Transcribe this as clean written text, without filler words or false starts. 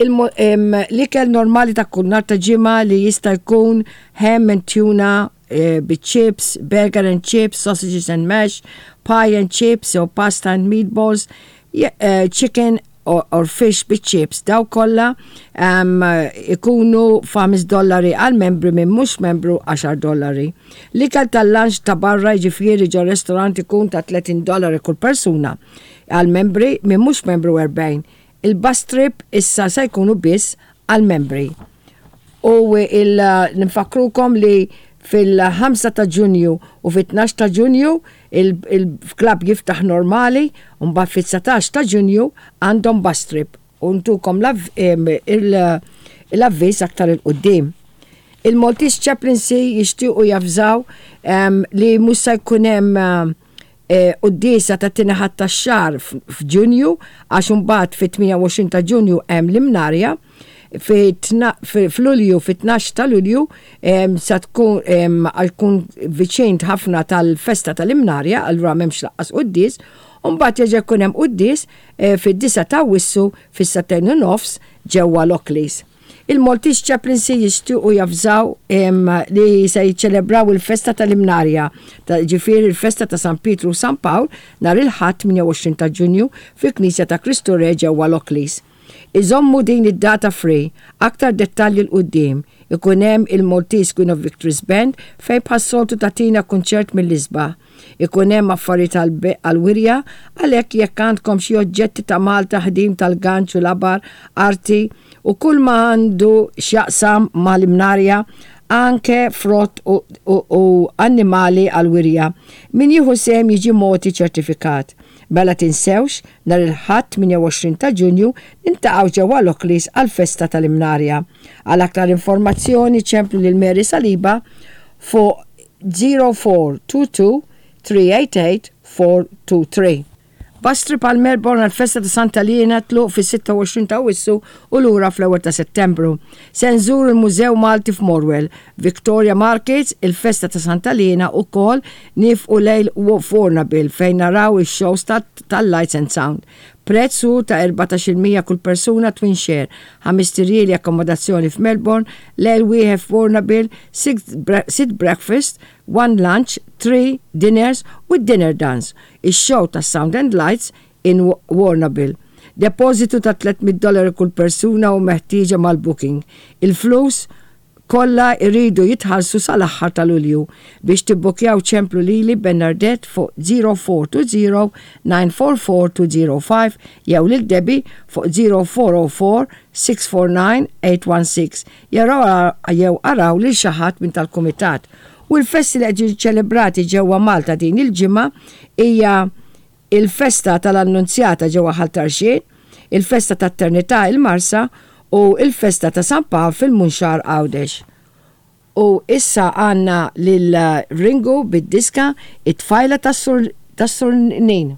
L-ikel normali ta' kull nhar ta' ġimgħa li jista' jkun ham and tuna eh, bit-chips, burger and chips, sausages and mash, pie and chips jew pasta and meatballs, eh, chicken or, or fish bit-chips. Daw kollha um, ikunu 5 dollari għal membri minn mhux membru 10 dollari. L-ikel tal-lunch ta' barra jiġifieri ġo restorant ikun ta' 30 dollari kull persuna għal membri minn mhux membru 40. Il-bus trip issa se jkunu biss għall-membri. U nfakkrukom li fil-5 ta' Ġunju u fit-12 ta' Ġunju il-klabb jiftaħ normali u mbagħad fit-19 ta' Ġunju għandhom bus trip u ntukom l-avviż aktar 'il quddiem. Il-Maltese Chaplaincy jixtiequ javżaw li mhux se jkun hemm Quddiesa tat-tieni Ħadd tax-xahar f'Ġunju għax imbagħad fit-28 ta' Ġunju hemm l-Imnarja. F'Lulju, fit-12 ta' Lulju sa tkun għal tkun viċin ħafna tal-festa tal-Imnarja, allura m'hemmx lanqas quddies. U mbagħad jerġa' jkun hemm quddies fid-9 ta' Awwissu fis-sagħtejn u nofs ġewwa Lockleys. Il-Maltese Chaplaincy jixtiequ javżaw li se jiċċelebraw il-festa tal-Imnarja, jiġifieri l-festa ta' San Pietru u San Pawl nhar il-Ħadd 28 ta' Ġunju fil-Knisja ta' Kristu Re ġewwa Lockleys. Iżommu din id-data free, aktar dettalji 'l quddiem. Ikun hemm il-Maltese Queen of Victories Band fejn bħas-soltu tagħtina kunċert mill-isbaħ. Ikun hemm affarijiet għall-wirja, għalhekk jekk għandkom xi oġġetti ta' Malta ħdim tal-ganċ u labar, arti u kull ma għandu x'jaqsam mal-Imnarja, anke frott u, u, u annimali għall-wirja, min jieħu sehem jiġi mogħti ċertifikat. Mela tinsewx, nhar il-Ħadd 28 ta' Ġunju niltaqgħu ġewwa Lockleys għall-festa tal-Imnarja. Għal aktar informazzjoni ċemplu lil Mary Saliba fuq 0422 388 423. Bus trip għal Melbourne għal festa ta' Santa Liena tluq fis-26 ta' Awwissu u lura fl-ewwel ta' Settembru. Se nżuru l-Mużew Malti f'Morwell, Victoria Markets, il-festa ta' Santa Liena u kol nifqu lejl f'Warrnambill fejn naraw ix-shows tal-Lights and Sound. Prezz hu ta' 14% kull persuna twin share, ħamest irjieli akkomodazzjoni f'Melbourne, lejl wieħed f'Warrnambill, sitt breakfast, one lunch, three dinners with dinner dance, ix-show tas-Sound and Lights in Warrnambill. Depożitu ta' 300 dollari kull persuna hu meħtieġa mal-booking. Il-flus kollha jridu jitħallsu sal-aħħar ta' Lulju. Biex tibbukjaw ċemplu lili Bernardette fuq 0420 944 205 jew lil Debbie fuq 0404 649 816 jew araw lil xi ħadd minn tal-kumitat. U l-festi li qed jiġu ċelebrati ġewwa Malta din il-ġimgħa hija il-festa tal-Annunzjata ġewwa Ħal Tarxien, il-festa tat-Ternità il-Marsa u il-festa ta' San Pawl fil-Munxar Għawdex. U issa għandna lil Ringu bid-diska it-tfajla tas-Sur Nin.